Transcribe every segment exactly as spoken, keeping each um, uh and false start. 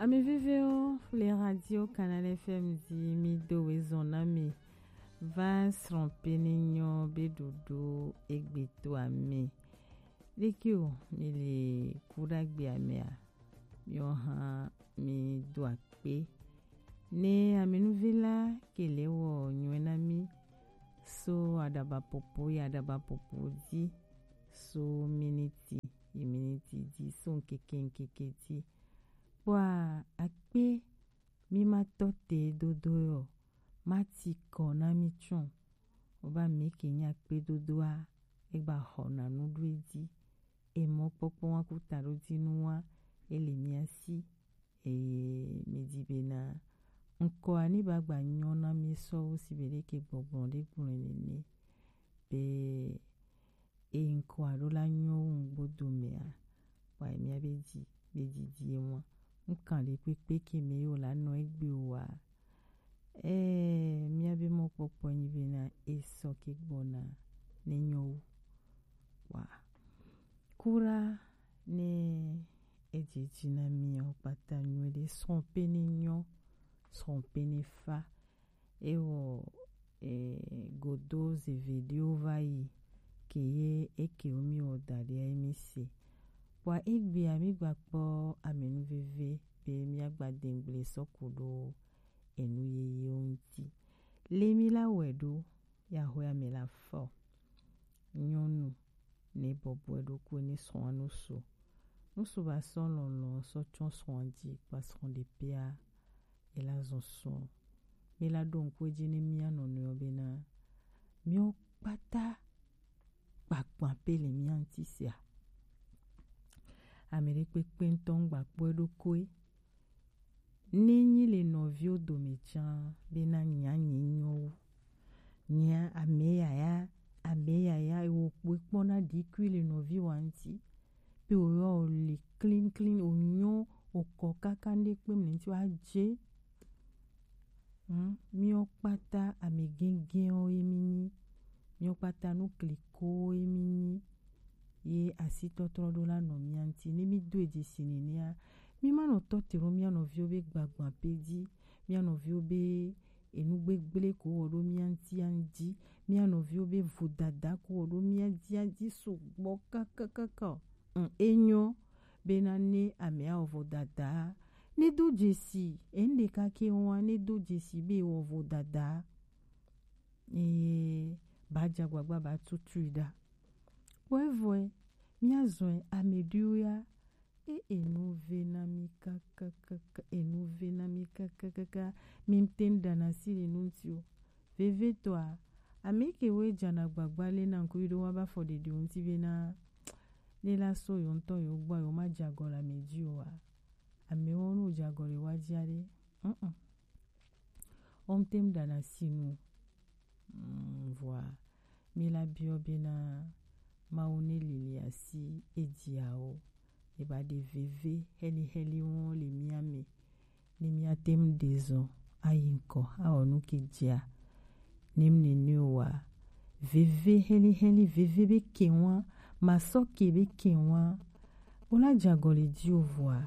Ami viviwo le radio Canal F M di mi do we zɔn na mi va srɔ̃ pe ne nyɔ be ɖoɖo egbe to ami. Ɖeki o, mi le ku ɖagbe amea, mi hã mi do akpe. Ne ami nuvi la ke le wɔ nyuie na mi, so aɖaba popo yi aɖaba popo di, so miniti yi miniti di, so ŋkeke ŋkeke di. Kpɔa akpe mi ma tɔ te dodo yɔ, ma ti kɔ na mi tsɔ. Oba mi ke nya akpe dodoa, egba xɔ na nu ɖo edzi. Emɔ kpɔkpɔ wa ku ta ɖo dzi nu wa, ele mia si. Eye mi di be na ŋkɔa ni ba gba nyɔ na mi sɔ wo si be ɖe ke gbɔgblɔ ɖe gblɔ nene. Be e ŋkɔ alo la nyɔ wu ŋgbo dome a, wa mia be dzi be didi e mɔ ŋkan ɖe kpekpe ke me yo la nɔ egbe o wa. Ɛɛ, mia be mɔkpɔkpɔ nyi be na e sɔ ke gbɔna ne nyɔ wu wa. Kura ne edze dzi na mi o kpata nyuie ɖe srɔ̃ pe ne nyɔ, srɔ̃ pe ne fa. Ewɔ e, godo zeveɖewo va yi ke ye eke wo mi wɔ da ɖe mi se. Kpɔa egbea mi gba kpɔ amenu veve be mia gba dengble sɔ ku ɖo enu yeyewo ŋuti. Le mi la wɛ ɖo ya xɔ ya me la fɔ. Nyɔnu ne bɔbɔe ɖokui ne srɔ̃a nusu. Nusu ba sɔ lɔlɔ sɔ tsɔ srɔ̃a dzi kpa srɔ̃ ɖe pea. Ela zɔn srɔ̃. Mi la ɖo ŋku edzi ne mia nɔnɔewo bena miwo kpata kpakpa pe le mia ŋuti sia. Ame ɖe kpekpe ŋutɔ ŋgba kpɔe ɖokoe. Ne nyi le nɔviwo dome tsã bena nya nye nyɔ wu. Nya ame yaya, ame yaya ewo kpɔe kpɔ na ɖikui le nɔviwa ŋuti. Pe woyɔ wo le clean clean, wonyɔ, wokɔ kaka ŋɖe kpe mle ŋuti wa dze. Hmm, miwo kpata ame gɛgɛwo ye mi nyi. Miwo kpata nu kliko ye mi nyi. Ye asitɔtrɔ ɖo la nɔ mia ŋuti. Ne mi do edzesi nenea, mi ma nɔ tɔ te ɖo mia nɔviwo be gbagba pe dzi, mia nɔviwo be enu gbegble ko wɔ ɖo mia ŋuti a ŋdi, mia nɔviwo be vodada ko wɔ ɖo mia dzi a dzi sugbɔ kakakaka o. Mm, enyɔ bena ne amea wɔ vodada, ne do dzesi, enu ɖeka ke wa, ne do dzesi be wɔ vodada, eye ba dza gbagba ba tutui ɖa. Kpɔe vɔe, mia zɔe ame ɖewo ya, e enu ve na mi kakakaka, enu ve na mi kakakaka, mi ŋte ŋ ɖana si le nu ŋuti o. Vevietɔa, ame ke woe dzana gbagba le na ŋku yi ɖo wa ba fɔ ɖeɖi ŋuti be na ne la so yo ŋutɔ yo gbɔ yo ma dze agɔ le ame dzi o wa. Amewo no dze agɔ le wa dzi aɖe. Mm-mm. Wo ŋte ŋ ɖana si nu. Mm, vɔa, mi la biɔ bena Mawu ne lili asi edziawo. E ba ɖe veve heli heli wo le mia me. Ne mia te ŋ ɖe zɔn ayi ŋkɔ, awɔ nu ke dzia. Ne mi nene wa. Veve heli heli, veve be ke wa, ma sɔ ke be ke wa. Wo la dze agɔ le dzi o vɔa.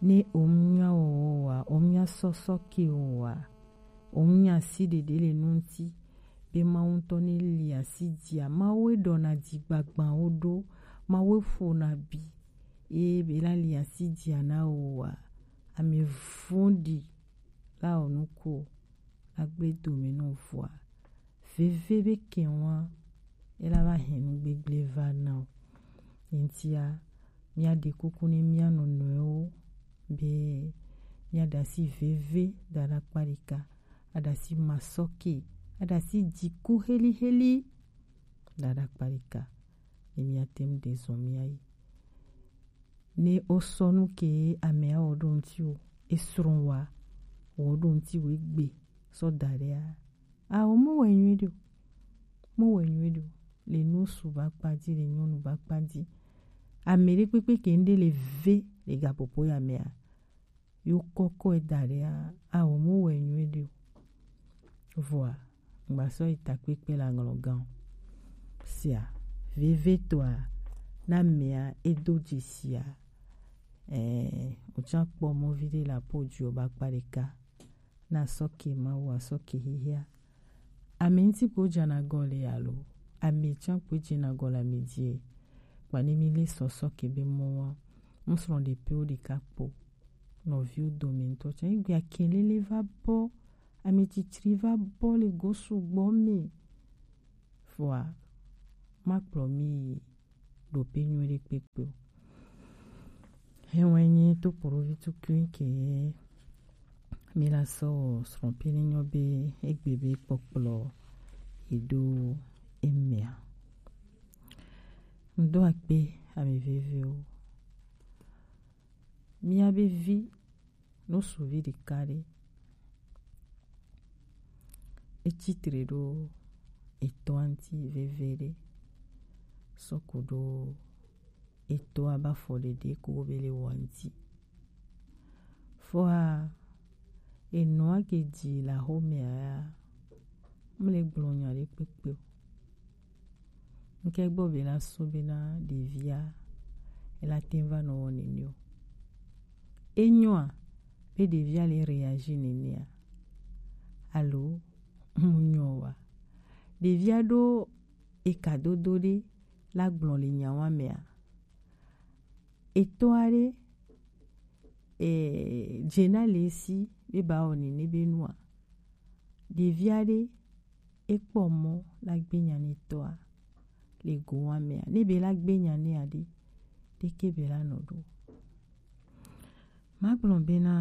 Ne o ŋu nya wɔwɔ wa, o ŋu nya sɔsɔ ke o wa, o ŋu nya si ɖeɖe le nu ŋuti, be Mawu ŋutɔ ne li asi dzia, Mawu e ɖɔna dzi gbagbawo ɖo, Mawu e ƒona bi, ye be la li asi dzia na o wa, ame vɔ̃ɖi la wɔ nu ko, la gble dome nɔ vɔa. Veve be ke wa, e la va hɛn nu gbegble va na o. Eŋtia, mia ɖe kuku ne mia nɔnɔewo be mia ɖe asi veve da ɖe akpa ɖeka, aɖe asi masɔke, aɖe asi dziku heli heli da ɖe akpa ɖeka. Ne mia te ŋu ɖe zɔn mia yi. Ne o sɔ nu ke amea wɔ ɖo ŋuti o, e srɔ̃ wa wɔ ɖo ŋuti o egbe sɔ da ɖe a. Awo mo wɛ nyuie ɖe o. Mo wɛ nyuie ɖe o. Le nu su ba kpa dzi, le nyɔnu ba kpa dzi. Ame ɖe kpekpe ke ŋɖe le ve le gaƒoƒo ya mea, yo kɔkɔ e da ɖe a, awo mo wɛ nyuie ɖe o. Vɔa, ŋgba sɔ yi takpekpe le aŋlɔ gan o. Sia, veve tɔa, na mea e do dzesia. Ɛɛ, Can kpɔ mɔvi ɖe le apo dzi o ba kpa ɖeka. Na sɔke Mawu a sɔke xixia. Ame ŋuti ko dza na gɔ le alo. Ame can ko dze na gɔ le ame die. Kpa ne mi le sɔ sɔke be mɔ wa. Ŋusrɔ ɖe pe wo ɖeka kpo. Nɔviwo dome ŋutɔ can. Egbe akɛlele va bɔ. Ame tsitsri va bɔ le go sugbɔ me. Vɔa, makplɔ mi yi ɖope nyuie ɖe kpekpe o. Hɛn wɛ nyi to kpolovi tukui ke mi la sɔ srɔ̃ pe ne nyɔ be egbe be kpɔkplɔ yi ɖo emea. Ŋdo akpe ami veviwo. Mía be vi, no suvi ɖeka ɖe. Etsi tre ɖo etɔa ŋuti veve ɖe. Sɔ ko ɖo etɔa ba fɔ ɖeɖe ko be le wa ŋuti. Fɔa, enɔa ke dzi le axomea ya, mle gblɔ nya ɖe kpekpe o. Ŋke gbɔ be la sɔ be na ɖevia, ela te va nɔ wɔ nene o. Enyoa, be ɖevia le réagir nenea, alo mu nyɔ wa. Ɖevia ɖo eka dodo ɖe la gblɔ le nyawa mea. Etɔa ɖe, eh, dze na le si be ba wɔ nene be nua. Ɖevia ɖe, ekpɔ mɔ la gbe nya ne tɔa le go wa mea. Ne be la gbe nya ne aɖe, ɖeke be la nɔ ɖo. Magblɔ bena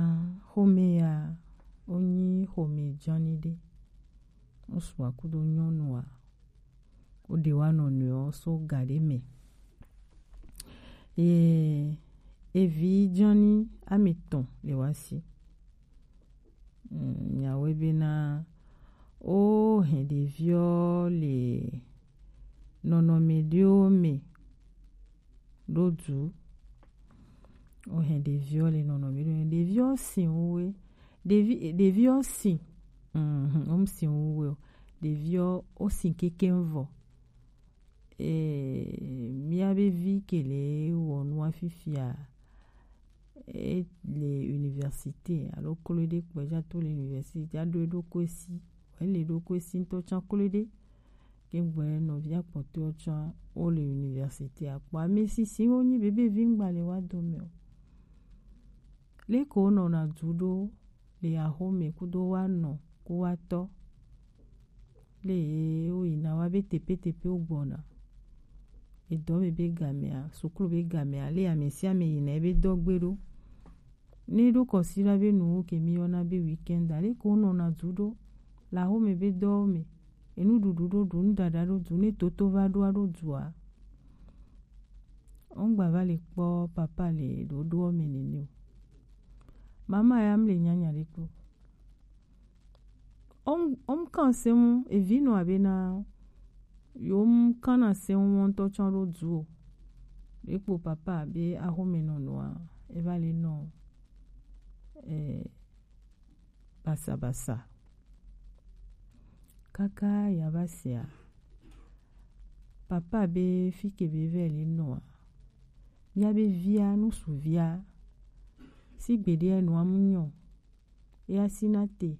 xome ya wonyi xome dzani ɖe. Ŋutsua kudo nyɔnua, woɖe wa nɔnɔewo so ga ɖe me. Ye evi dzani ame etɔ̃ le wa si. Mm, nyawo bena wo hɛn ɖeviwo le nɔnɔme ɖewo me ɖo du. Wo hɛn ɖeviwo le nɔnɔme ɖewo me. Ɖeviwo sin wuwe. Ɖevi, ɖeviwo sin. Mhm, wo sin wuwe o. Ɖeviwo wo sin keke vɔ. Eh, mía be vi ke le wɔ nua fifia, e le université, alo klo ɖe kpɔ dza to le université, aɖo eɖokui si, ele eɖokui si ŋutɔ tsã klo ɖe. Ke gbɔ nɔvia kpɔtɔewo tsã wo le université. Akpɔ ame sisi wo nyi bebe vi ŋgba le wa dome o. Leke wonɔna du ɖo le axome kudo wa nɔ ku wa tɔ. Le ye woyina wa be tepetepe wogbɔna. Edɔ me be gamea, suklu be gamea, le ame sia ame yina ebe dɔ gbe ɖo. Ne ɖo kɔsiɖa be nuwo ke mi yɔna be weekend, leke wonɔna du ɖo le axome be dɔwo me. Enuɖuɖu ɖo ɖu, nuɖaɖa ɖo ɖu, ne toto va ɖoa ɖo dua. Wongba va le kpɔ papa le ɖoɖoɔ me nene o. Mama ya mle nyanya ɖe kpo. Wom, wom kan se ŋu, evi nɔ abe na, yom kan na se ŋu ŋutɔ tsɔ ɖo du o. Ɖe kpo papa be axome nɔnɔa, eva le nɔ, eh, basabasa. Kaka ya va sea, papa be fike be vɛ le nɔa, mía be via, nusuvia, si gbeɖe nua mu nyɔ, ya si na te,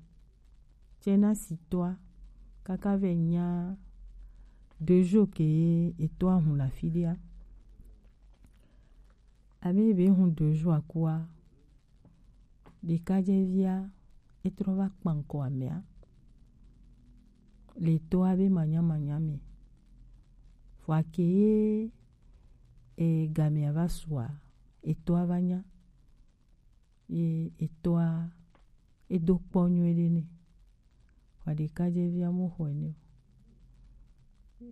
tsɛ na si tɔa, kaka vɛ nya deux jours ke etɔa hun le afi ɖea. Abe be hun deux jours akua, ɖekadzɛvia etrɔ va kpa ŋkɔ amea le etɔa be manyamanya me. Vɔa ke ye e, gamea va sua, etɔa va nya. Ye etɔa edo kpɔ nyuie ɖe nɛ. Vɔa ɖekadzɛvia mo xɔe nɛ o.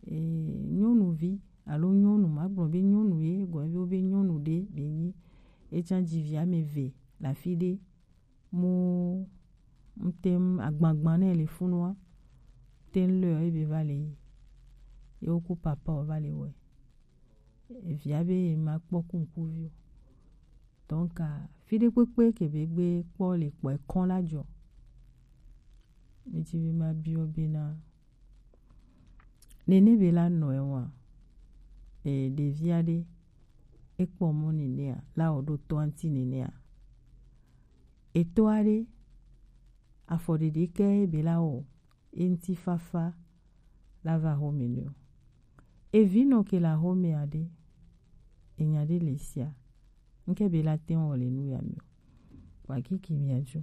E, nyɔnuvi alo nyɔnu, magblɔ be nyɔnu ye, gɔme be wobe nyɔnu ɖe be nyi. Etsã dzi vi ame eve le afi ɖe. Mo ŋte ŋu agbagba ne le funua, te ŋu le ebe va le yi. Ye woku papa o va le wɔe. Evia be ye ma kpɔ ku ŋkuvi o. Donc, a, fi ɖe kpekpe ke be gbe kpɔ le kpɔ ekɔn la dzɔ. Mi dzi be ma biɔ be na nene be la nɔ ewa. E, ɖevia ɖe, ekpɔ mɔ nenea, la o ɖo tɔa ŋti nenea. Eto aɖe, afɔɖeɖe ke be la wɔ, eŋutifafa la va xɔme nɛ o. Evi nɔ ke le axɔmea ɖe, enya ɖe le sia, ŋke be la te wɔ le nu ya me o. Wa kiki mia jo.